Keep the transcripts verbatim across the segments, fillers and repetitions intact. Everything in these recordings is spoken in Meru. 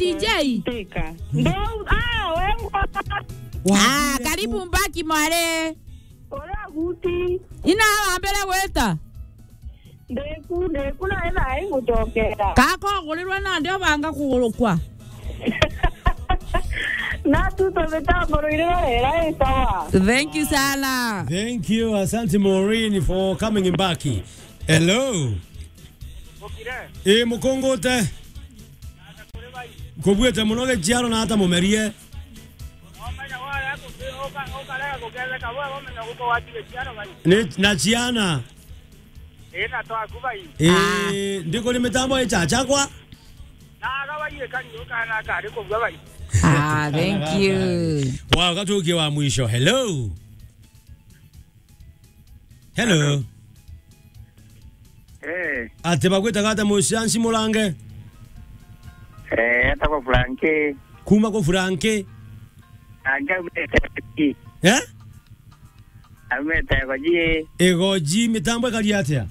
D J. Teka. Ndo, ah, we ngwa. Ah, karibu Mbaki mwari. Ora guti. Ina wambere gwita. Ndeku, ndeku na ena ai gucokera. Kako gurirwe na ndio banga kugurukwa. Na tu tubita mburu iri barera i sawa. Thank you sana. Thank you, asante Maureen for coming back. Hello. Mukire. Eh, mukungute. Kubuite muno gichiaro na ata mumerie. Omenya waya kuki-, uka-, ukarega kugetheka, we omenya guko watige chiaro bai. Ni, na chiana. Eh, na twaku bai. Eh, ah, ndikuri mitambo ichachakwa. Na aga bai ikari ukana kari kugwa bai. Ah, thank you. Wow, gatukie wa mwisho. Hello. Hello. Eh. Ati bagwitaga ata mucianci murange? Eh, etagwa Frankie. Kuma ku Frankie? Frankie aumite Igoji. Eh? Aumite Igoji. Igoji, mitambo ikari atia?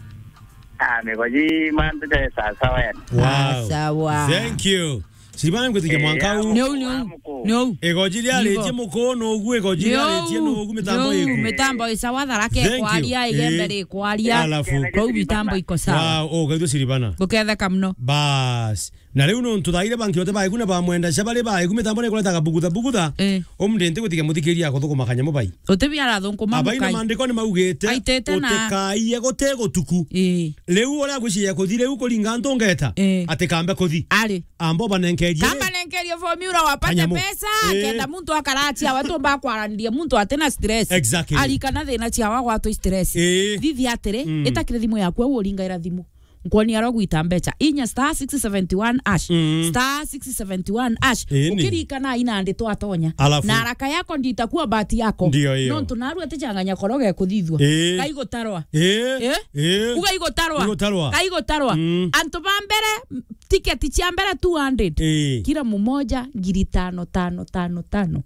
Ah, migoji mantu te sawa sawa yani. Wow. Ah, sawa. Thank you. Siribana ngwitikia, eh, mwanka u. Neu, neu. Neu. Igoji riaritie muko, nogu igoji riaritie, nogu mitambo iku. Mitambo isawa tharake. Thank you. Kwaria, eh, igembe ri kwaria. Alafu. Kwou mitambo iko sawa. Wow, oh, gaitho siribana. Guketheka muno. Bas. Na riu nontu thaire banki yote baeku na bamwenda cia bari baeku mitambo ni kuretaga bugutha bugutha. Eh. Umndinti gwitikia muthikiria akuthukuma kanyamu bai. Uti bia arathukuma. Abaina mukai. Maandiko ni maugite, aitite na utikaie guti gutuku. Eh. Riu uria gwiciria kuthi riu kuringa antu ngeta, eh, ati kambe kuthi. Ari. Ambo banenkerie. Kamba nenkerie formula wapate kanyamu. Pesa, eh, kenda muntu akaratia, watu mba kwaraniria muntu atina stress. Exactly. Arikana thina cia wa gwatwa stress. Eh. Thithi atiri, mm, itakire thimu yaku, au uringaira thimu. Nkwoni arogwita mbecha. Inya star six seventy one hash. Mm. Star six seventy one hash. Ĩni. Ukirikana ina ndi twatonya. Alafu. Na haraka yako nditakuwa bahati yako. Ndio hiyo. Nontu narua tichanganya koroge kuthithwa. Eh. Kai gutarwa. Eh. Eh? Eh. Uga igutarwa. Igutarwa. Kai gutarwa. Mm. Antu ba mbere, tiketi cia mbere two hundred. Eh. Kila mmoja ngiri tano, tano, tano, tano.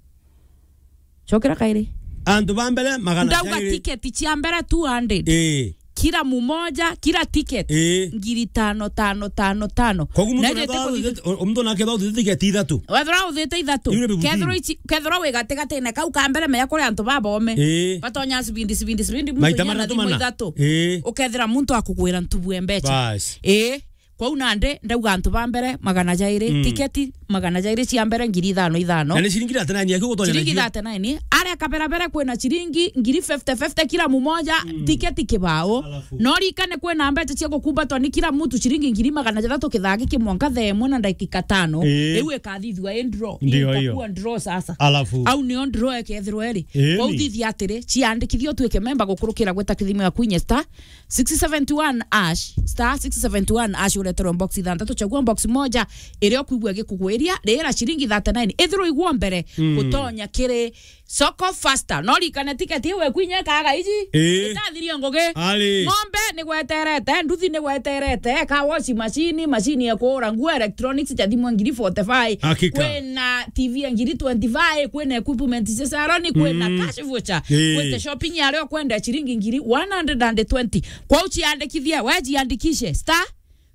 Chokera kairi. Antu ba mbere magana jairi. Ndauga tiketi cia mbere two hundred. Eh. Kila mmoja, kila ticket, eh, ngiri tano, tano, tano, tano. Kogu muntu na naketha kethwa uthithite, o-, o-, muntu naketha uthithite tiketi ithatu. Wethira uthite ithatu. Iu ni bibuti. Kethirwa ici, kethirwa wi gatigatine kau ka mbere, menya kuri antu babome. Eh. Batonya sibindi, sibindi, sibindi, muntu maita inya na matatu thimu mana. Ithatu. Eh. Ukethira muntu akugwira ntubu e mbecha. Bas. Eh. Kwou nandi ndauga antu ba mbere magana jairi, mm, tiketi magana jairi cia mbere ngiri ithano ithano. Na ni ciringi thirty-nine yake gutonya. Ciringi nacio thirty-nine. Aria kaberabere kwina ciringi ngiri fifty fifty kila mmoja, mm, tiketi kibao. Alafu. No rikane kwina mbecha cia gukumbatwa ni kila mtu ciringi ngiri magana jathatu kithaa giki mwanka thaa imwe na ndagika tano. Ii. Riu ikathithua i draw. Ndio hiyo. Itakuwa draw sasa. Alafu. Au nio draw ekethirwa iri. Ii. Kwou thithi atiri, ciandikithie utuike memba gukurukira gwita kithimu ya Queen Star six seventy one hash, star six seventy one hash, ureterwe box ithanthatu, chagua box moja iria ukwigua igikugwiria, rira ciringi thirty-nine, ithirwa igwo mbere, mm, gutonya kiri Soko Faster. No rikane tiketi iu ekwinya ikaga iji. Ii. Itathirie ngugi. Ari. Ng'ombe ni gweterete, nduthi ni gweterete, ka washing machine, machine ya kuura nguo, electronics, cha thimu ngiri forty-five. Hakika. Kwina T V ya ngiri twenty-five, kwina equipment cia salon, kwina, mm, cash voucher. Ii. Kwina shopping ya leo kwenda ciringi ngiri one hundred and twenty. Kwou ciandikithie, we jiandikishe, star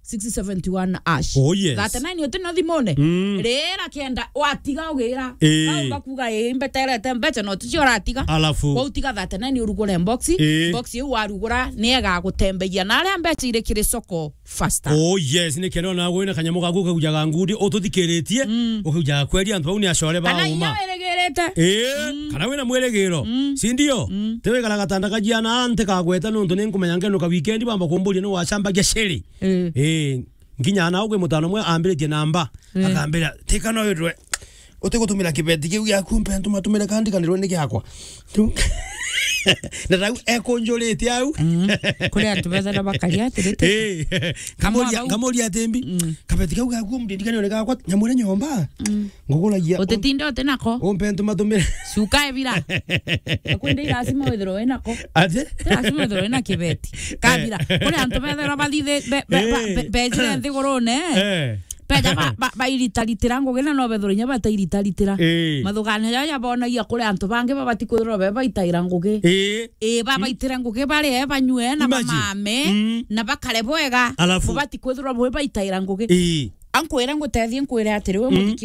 six seventy one hash. Oh, yes. Thirty-nine uti no thimune. Mm. Rira kenda, watiga ugira. Ii. Kau gakuga, ii, mbeterete mbecha, no ticio uratiga. Alafu. Kwou tiga thirty-nine urugure box. Ii. Box iu warugura, ni egagutembeia. Na aria mbecha iri kiri Soko Faster. Oh yes, ni kenda ona gwina kanyamu gaku kaujaga ngundi ututhikiritie, mm, ukaujaga kweri antu bau ni acore ba uma. Kana inya wirigirite. Ii, mm, kana wina mwirigiro. Mm. Si ndio? Mm. Tiwikara gatanda kajiana nti kagweta nontu ni nkumenya ngenuka weekend bamba kumburia ni wacambagia ciri. Ii. Ii, nginya na ugwe mutano mwe ambiritie namba. Ii. Akambira, "Tika no witwe." Utigutumira kibeti kiu giaku, mpe ntuma tumire kandi kandirwe ni giakwa. Na rau ekunjurite au. Mm. Kuri antu bethera bakaria atiri ti. Eh, kamuria, kamuria atimbi. Mm. Kabeti kau gaku mdindikani ni gakwa, nyamure nyomba. Mm. Nguguragia. Utitinda uti nako. Umpe ntuma tumire. Cuka ebira. Akwende lazima withirwe wina ko. Ati? Ti lazima withirwe wina kibeti. Kabira. Kuri antu bethera bathithe, be-, be-, ba-, be-, bejire nthigurune. Eh. Beja ba-, ba-, bairitaritira ngugi na no bethirwe inya batairitaritira. Eh. Mathugania jaja bonagia kuri antu bangi babati kwithirwa be baitaira ngugi. Eh. Eh, babaitire ngugi barie, banyue, na bamame, mm, na bakare bwega. Alafu. Bubati kwithirwa bwi baitaira ngugi. Eh. Ankwire ngutethie nkwire atiri, we, mm, muthiki